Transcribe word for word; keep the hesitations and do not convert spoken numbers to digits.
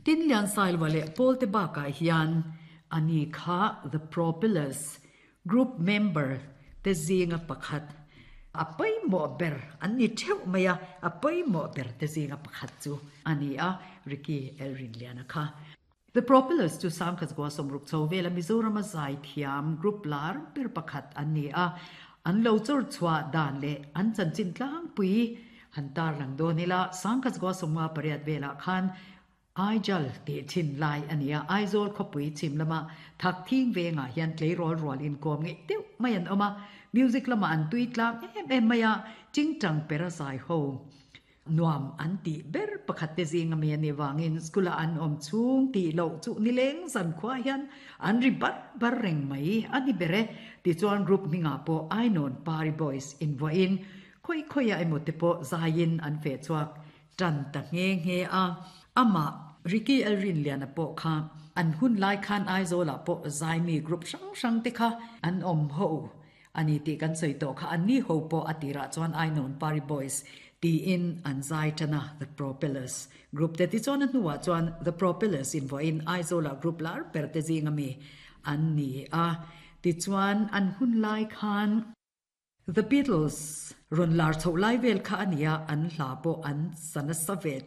Tinliansailova leh Pawlte bakah hian ani kha The Propellers group member te zinga pakhat a pawimawh ber an ni theuh mai a, a pawimawh ber te zinga pakhat chu a ni a, Ricky Elrinliana kha. The Propellers chu Sangkhat Sawmruk chho vela Mizorama zaithiam group lar ber pakhat an ni a, an lo chawr chhuah dan leh an chanchin tlangpui han tarlang dawn ila Sangkhat Sawmnga pariat velah khan Aijal tih thin lai a ni a, Aizawl khawpui chhim lama Thakthing vengah hian tleirawl rual inkawm ngeih deuh mai an awm a, music lamah an tui tlang em em mai a, Chingchang pera zai ho nuam an tih ber pakhat te zing ami a nih vangin school ah an awm chhung tih loh chu nileng zan khua hian an ri bar bar reng mai a ni ber e. Tichuan group hmingah pawh Ainawn Pari Boys invuahin khawi khawiah emaw te pawh zaiin an feh chhuak tan ta nghe nghe a. Amah Ricky Elrinliana pawh kha an hun lai khan Aizawlah pawh zaimi group hrang hrang te kha an awm ho a ni tih kan sawi tawh kha. Anni ho pawh a tirah chuan Ainawn Pari Boys tiin an zai tan a, The Propellers group te tichuan a hnuah chuan The Propellers invuahin Aizawlah group lar ber te zing ami an ni a. Tichuan an hun lai khan The Beatles rawn lar chhoh lai vel kha a nia, an hla pawh an sa nasa ve